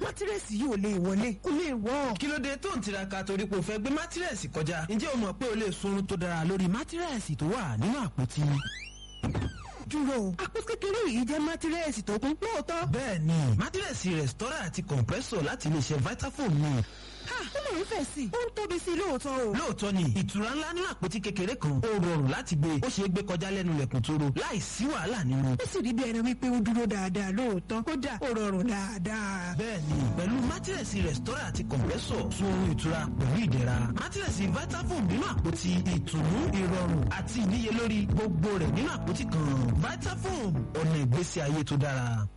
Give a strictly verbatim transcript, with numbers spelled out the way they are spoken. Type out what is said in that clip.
Mátírẹ́sì yìí ò lè wọlé, kò lè wọ́. Kí ló dé tó ń tiraka torí pé o fẹ́ gbé mátírẹ́sì kọjá? Ǹjẹ́ o mọ̀ pé o lè sunrun tó dára lórí mátírẹ́sì tó wà nínú àpótí? Dúró, àpò kékeré yìí jẹ́ mátírẹ́sì tó kún lóòótọ́. Bẹ́ẹ̀ni, mátírẹ́sì Restore àti compressor láti iléeṣẹ́ Vitafoam ni. Ha, ó mọ̀ ń fẹ̀ sí i, ó ń tóbi sí i lóòótọ́ o. Lóòótọ́ ni, ìtura ńlá nínú àpótí kékeré kan, ó rọrùn láti gbé, ó ṣeé gbé kọjá lẹ́nu ilẹ̀kùn tóró láì sí wàhálà nínú. Ó sì rí bí ẹni wípé ó dúró dáadáa lóòótọ́, kódà ó rọrùn dáadáa. Bẹ́ẹ̀ni, pẹ̀lú mátírẹ̀sì Restore àti compressor, sun oorun ìtura pẹ̀lú ìdẹ̀ra. Mátírẹ̀sì Vitafoam nínú àpótí, ìtùnú, ìrọ̀rùn àti ìníyelórí gbogbo rẹ̀ nínú àpótí kan. Vitafoam, ọ̀nà ìgbésí ayé tó dára.